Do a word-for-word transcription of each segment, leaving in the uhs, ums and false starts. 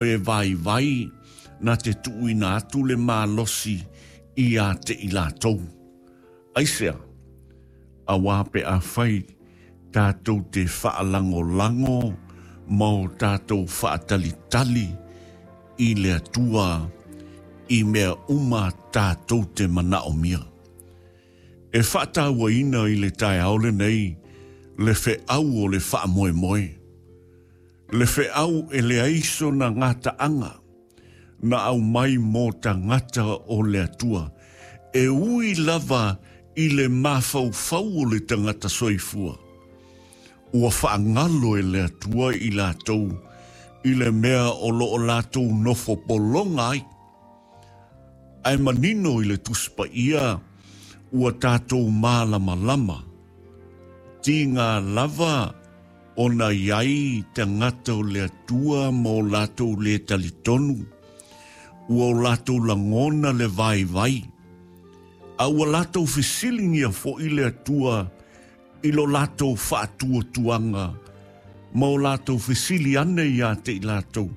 E vaivai na te tuuina atu le malosi ia te i latou. Aisea, auā pe afai tatou te faalagolago ma o tatou faatalitali i le Atua i mea uma tatou te manaomia. E faatauaina i le taeao lenei le feau o le faamoemoe. Le feau e leai sona gataaga na aumai mo tagata o le Atua. E ui lava i le mafaufau o le tagata soifua. Ua faagalo e le Atua i latou i le mea o loo latou nofo pologa ai. Ae manino i le Tusi Paia ua tatou malamalama. Tiga lava ona i ai tagata o le Atua ma o latou le talitonu, ua o latou lagona le vaivai, a ua latou fesiligia foi le Atua i lo latou faatuatuaga ma o latou fesili ane ia te i latou,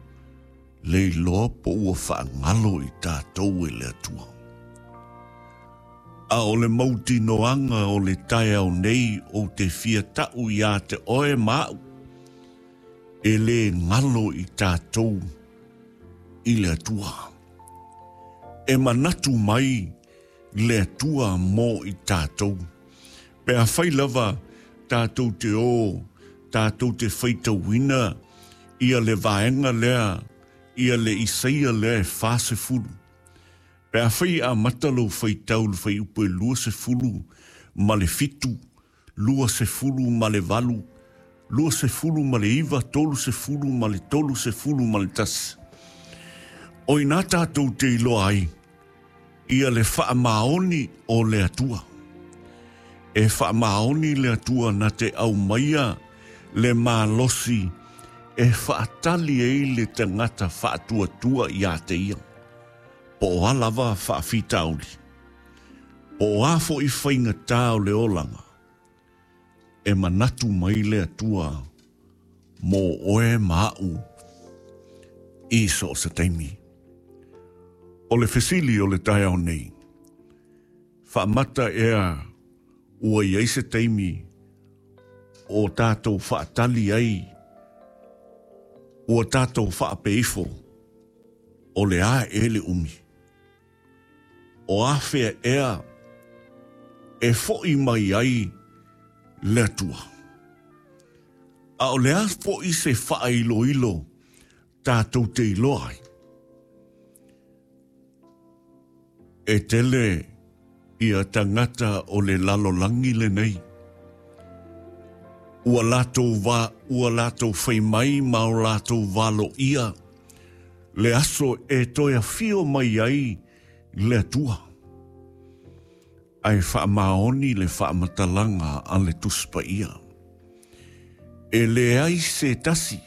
le iloa po ua faagalo i tatou e le Atua. A o le mautinoaga o le taeao nei ou te fia tau ia te oe ma au, e le galo i tatou i le Atua. E manatu mai le Atua mo i tatou. Pe afai lava tatou te o, tatou te faitauina ia le vaega lea, ia le Isaia lea e fasefulu. Pe afai e amata lou faitau i le fuaiupu e luasefulu ma le fitu, luasefulu ma le valu, luasefulu ma le iva, tolusefulu ma le tolusefulu ma le tasi. O i ina tatou te iloa ai ia le faamaoni o le Atua. E faamaoni le Atua na te aumaia le malosi e faatali ai le tagata faatuatua ia te ia. Po o a lava faafitauli, po o a foi faigata o le olaga, e manatu mai le Atua mo oe ma au i so o se taimi. O le fesili o le taeao nei, faamata ea ua i ai se taimi o tatou faatali ai, ua tatou faapeifo, o le a ea le umi? O afea ea e foi mai ai le Atua? A o le a foi se faailoilo tatou te iloa ai? E tele ia tagata o le lalolagi lenei. Ua latou va, ua latou fai mai ma o latou valoia le aso e toe afio mai ai le Atua. Ae faamaoni le faamatalaga a le Tusi Paia. E leai se tasi,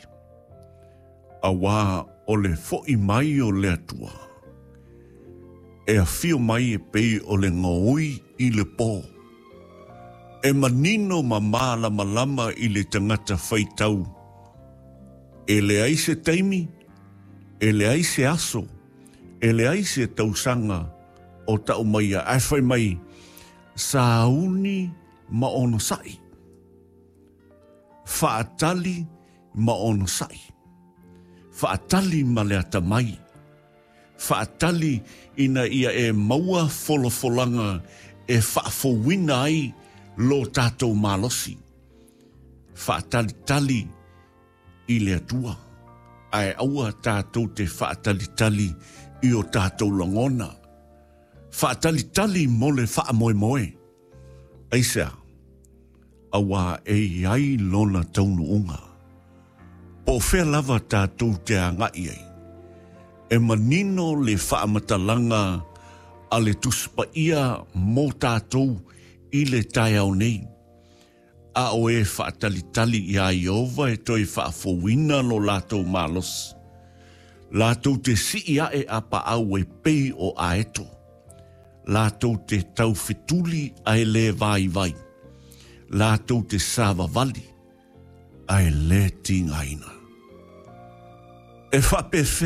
auā o le foi mai o le Atua. E afio mai e pei o le gaoi i le pō. E manino ma malamalama i le tagata faitau. E leai se taimi, e leai se aso, e leai se tausaga o tau maia. Ae fai mai, sauni ma onosai. Faatali ma onosai. Faatali ma le atamai. Faatali ina ia e maua folafolaga e faafouina ai lo tatou malosi. Faatalitali i le Atua. Ae aua tatou te faatalitali i o tatou lagona. Faatalitali mo le faamoemoe. Aisea, auā e i ai lona taunuuga. Po o fea lava tatou te agai ai. E manino le faamatalaga a le Tusi Paia mo tatou i le taeao nei. A o e faatalitali iā Ieova e toe faafouina lo latou malosi. Latou te sii ae a paau e pei o aeto. Latou te taufetuli ae le vaivai. Latou te savavali ae le tigaina. E faapefea